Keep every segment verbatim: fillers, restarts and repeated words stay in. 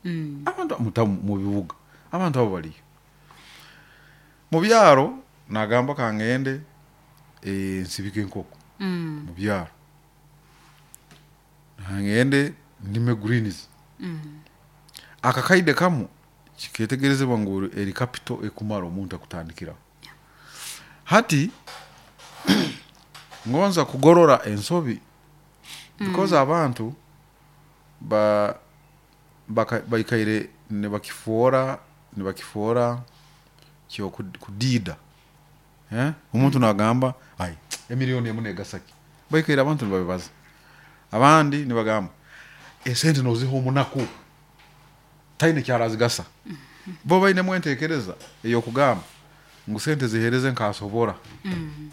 Mm. Abantu muta mu bibuga, abantu abo baliyo. Mu byaro nagamba kangende eh, nsibike enkoko. Mm. Mu byaro ngende ndime greens. Mm. Akakaide kamu kiketegerezebwa ngu eri capital ekumara omuntu akutandikiraho. Hati ngonza kugorora ensobi because abantu ba baka- baikaire nibakifuora nibakifuora kyo kudiida, eh? Omuntu nagamba, "Ai, emiliyoni emu negasaki?" Baikaire abantu nibabibaza. Abandi nibagamba, "Esente noziha omunaku, taine kyarazigasa." Bo bainemu entekereza ey'okugamba ngu sente zihereze nkasobora. Mm.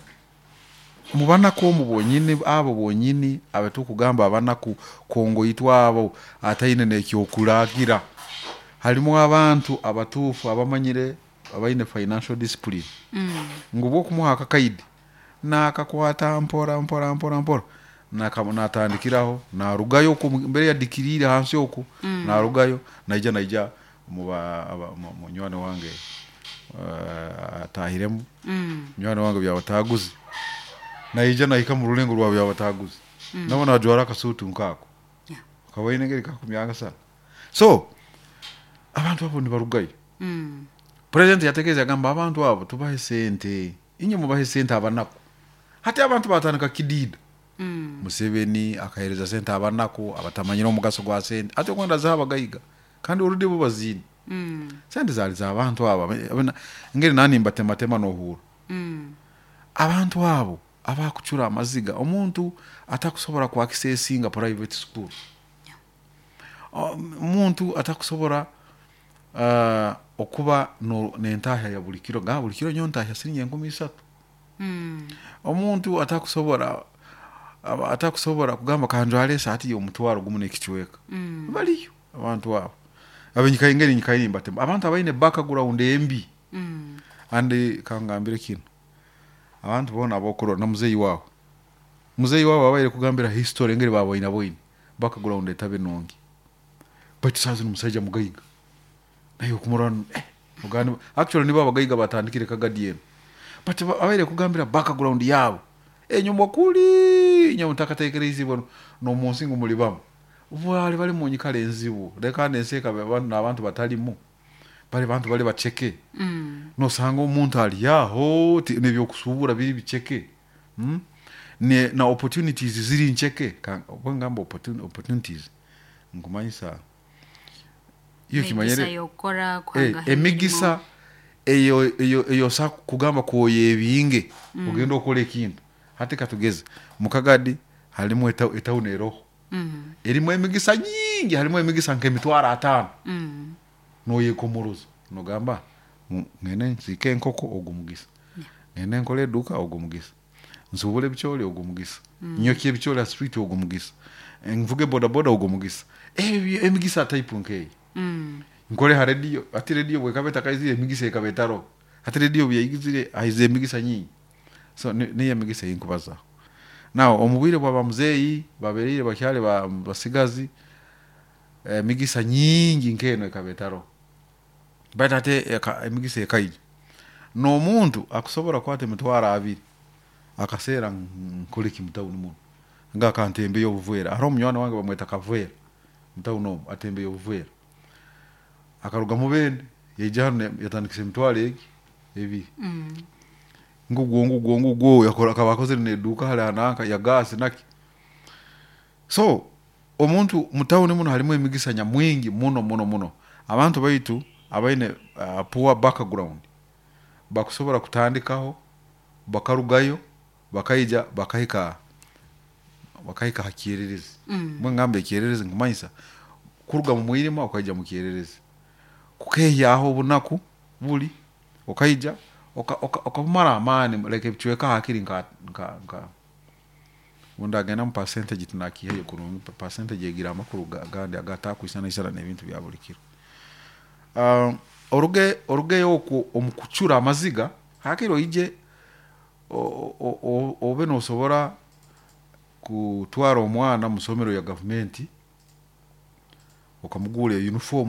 Mu banaku omu bonyini, abo bonyini abatukugamba abanaku kongoitwe, abo ataine n'ekyokuragira, harimu abantu abatuufu abamanyire, abaine financial discipline, Mm. ngu bwokumuha akakaidi nakakwata mpora mpora mpora mpora, naka- natandikiraho, narugayo oku mbere yadikiriire hansi oku. Mm. Narugayo naija naija muba aba- mu- munywani wange uh, atahiremu. Mm. Munywani wange Byabataguzi naija nahika mu rulengo rwa Byabataguzi. Mm. Nabo najwara akasuutu nkaako. Yeah. Kawaine ngeri kakumyanga sana. So abantu abo nibarugayo. Mm. President yatekereza, agamba, "Abantu abo tubahe sente, inye mubahe sente abanaku." Hati abantu batandika kidida. Mm. Museveni akahereza sente abanaku abatamanyire omugaso gwa sente. Ate okwenda zaha abagaiga kandi orudi bo baziine. Mm. Sente zali z'abantu abo. Abena- ngeri nani mbatematema nohura. Mm. Abantu abo abakucura amaziga, omuntu atakusobora kwakisesinga private school, omuntu atakusobora uh, okuba no- nentahya ya buli kiro, ga buli kiro nyo ntahya siringi enkumi isatu. Mm. Omuntu atakusobora aba- atakusobora kugamba, "Kanjwale esaati y'omutwaro gumu n'ekicweka." Mm. Baliyo abantu abo abenyikaye ngeri nyikaye mbatema, abantu abaine background embi. Mm. Andi kangambire kino, abantu bona abokurora na muzeyi wawe, muzeyi wawe abaire kugambira history engeri baboine boine background etabe nungi, baitu saa zino omusajja mugaiga, naye okumurora eh, ogandi actually nibo abagaiga batandikire Kagadi eno, but ba- abaire kugambira background yabo enyuma kuli nyo mutakatekereizibwe n'omunsi ngu muli bamu, bwali bali mu nyikara enzibu. Leka nensi ekaba abantu n'abantu batalimu, bali bantu bali baceke. Mm. Nosanga omuntu ali aho ti- nebyokusubura biri biceke, mm? ne, na opportunities ziri nceke. Ka- obwo ngamba opportun- opportunities nkumanyisa iyo Emigisa kimanyire y'okukora eh, kuhangaho. Emigisa eyo eyo eyo sa kugamba kwoya ebinge mm. ogenda okola ekintu. Hati katugeze mukagadi halimu eta- etawuni eroho. Mm. Erimu emigisa nyingi, halimu emigisa nk'emitwaro ataano. Mm. Noyekomoroza nogamba, "Mu- ngende nsiike enkoko, ogwo mugisa. Ngende nkole eduka, ogwo mugisa. Nsubule ebicooli, ogwo mugisa. Nyokye ebicooli ha street, ogwo mugisa. Nvuge bodaboda, ogwo mugisa." Ebyo emigisa type nkeyo. Mm. Nkole ha rediyo. Ati rediyo bwekaba etakaizire, emigisa ekaba etaroho. Ati rediyo byaigizire, haize emigisa nyingi. So ni- niyo emigisa eyinkubazaho. Now omu bwire bwa bamuzeeyi babereire bakyali ba- basigazi, emigisa nyingi nk'eno ekaba etaroho, baitu ate eka- emigisa ekaija n'omuntu akusobora kukwata emitwaro abiri akaseera, "Nkole ki mutawuni muno?" Nga akantembeyo obuvera. Hariho omunywani wange bamweta Kavera, mutawuni omu atembeyo obuvera, akaruga Mubende yaija hano, yatandikisa emitwaro egi ebiri. Mm. Ngugwo ngugwo ngugwo yakora, akaba akozere neduka hali hananka ya gasi naki. So omuntu mutawuni muno harimu emigisa nyamwingi muno muno muno. Abantu baitu abaine uh, poor background bakusobora kutandikaho, bakarugayo bakaija bakahika bakahika ha kyererezi. Mm. Mbwe ngamba ekyererezi nkumanyisa kuruga mu mwirima ukaija mu kyererezi, kukehyaho obunaku buli, ukaija oka- oka- okabumara amaani, like ebicweka hakiri nka nka nka bundagenda mu percentage tunakihayo kurungi. Percentage egira amakuru ga- gandi agatakwisana isana n'ebintu bya buli kiro. um, oruge orugeyo okwo omu kucura amaziga, hakiri oije o- o- o- obe nosobora kutwara omwana mu somero ya gavumenti, okamugura uniform.